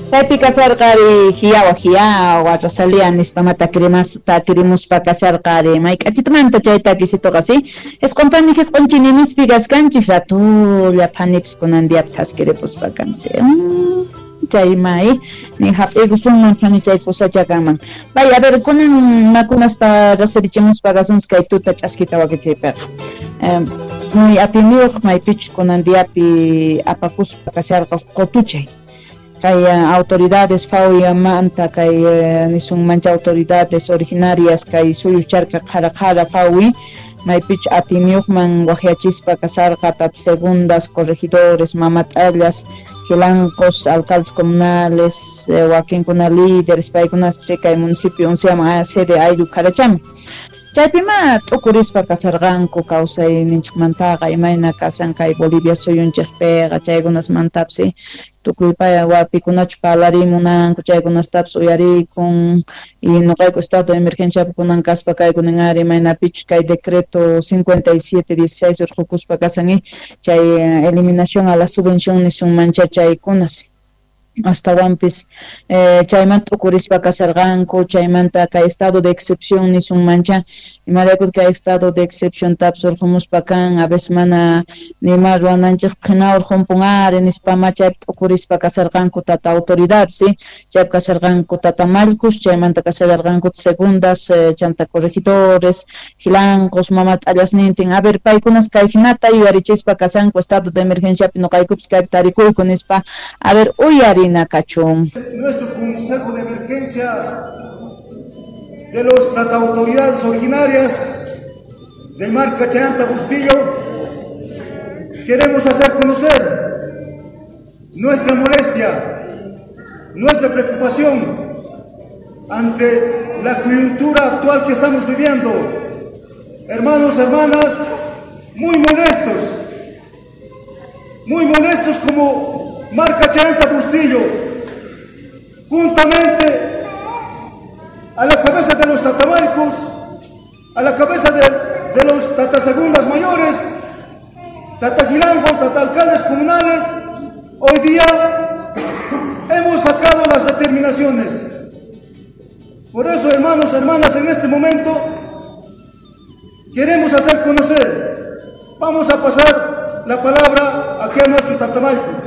Chaypi kasharqari hiyawa hiyawa Rosalía nispama takirimuspa kasharqari mayk'achitumanta chay takisituqa si isqun pani jisq'un chininispi kaskanchis ratulla phanipis kunan diapi thaskiripuspa kansi chay ni hap'ikusunman phani chay kusacha kanman. Vaya, a ver, kunan makunaspa riqsirichimuspa kasunchis kay tuta ch'askita wakichiypiqa. Muy atiniyuq maypichus kunan diapi apakuspa kasharqa qutuchay. Kay autoridades FAWI manta kay nisunmancha autoridades originarias kay suyucharqa qhara qhara FAWI maypichus atiniyuqman waqyachispa kasarqa tata segundas, corregidores, mamat'allas, jilancos, alcaldes comunales, wakinkuna líderes paykunaspis kay municipio unsiaman sede ayllu qharachaman. Chaypima t'ukurispa kasarqanku kawsayninchikmantaqa imayna kasan kay Bolivia suyunchikpiqa chaykunasmantapis tukuy pay wapikunachu parlarimunanku chaykunastapis uyarikun y nuqayku estado de emergenciapi kunan kaspa kaykunan ari imaynapichus kay decreto 5716 urqukuspa kasan chay eliminación a la subvención nisunmancha chaykunas astawanpis chaymanta t'ukurispa kasharqanku chaymanta kay estado de excepción nisunmancha imarayku kay estado de excepción tapis urqumuspa kan a veces mana nima ruwananchikpaq hina urqumpun ari nispama chaypi t'ukurispa kasharqanku tata autoridad si chaypi kasharqanku tata mallkus chaymanta kashallarqanku segundas chanta corregidores jilancos mamat'allasnintin a ver paykunas kay hinata yuyarichispa kasanku estado de emergenciapi nuqaykupis kaypi tarikuyku nispa a ver uyari. Nuestro Consejo de Emergencia de los tata autoridades originarias de Marca Chayanta Bustillo, queremos hacer conocer nuestra molestia, nuestra preocupación ante la coyuntura actual que estamos viviendo. Hermanos, hermanas, muy molestos como Marca Chayanta Bustillo, juntamente a la cabeza de los tatamarcos, a la cabeza de los tatasegundas mayores, tatajilangos, tatalcaldes comunales, hoy día hemos sacado las determinaciones. Por eso, hermanos, hermanas, en este momento queremos hacer conocer. Vamos a pasar la palabra aquí a nuestro tatamalco.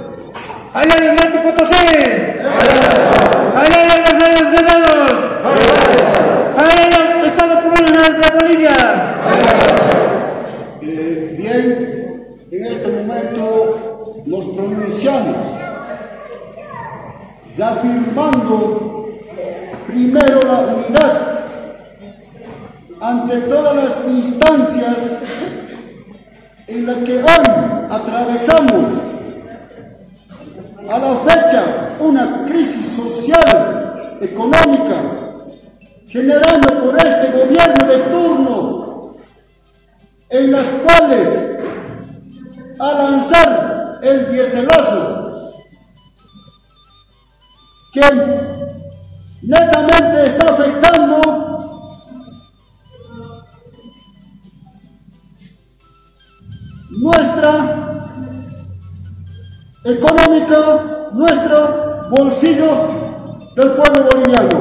¡Jalal Norte Potosí! ¡Jalal los Guerreros! ¡Jalal Estado Comunal de Bolivia! Bien, en este momento nos pronunciamos reafirmando primero la unidad ante todas las instancias en las que hoy atravesamos a la fecha una crisis social, económica, generando por este gobierno de turno, en las cuales a lanzar el dieselazo, que netamente está afectando nuestra económica, nuestro bolsillo del pueblo boliviano.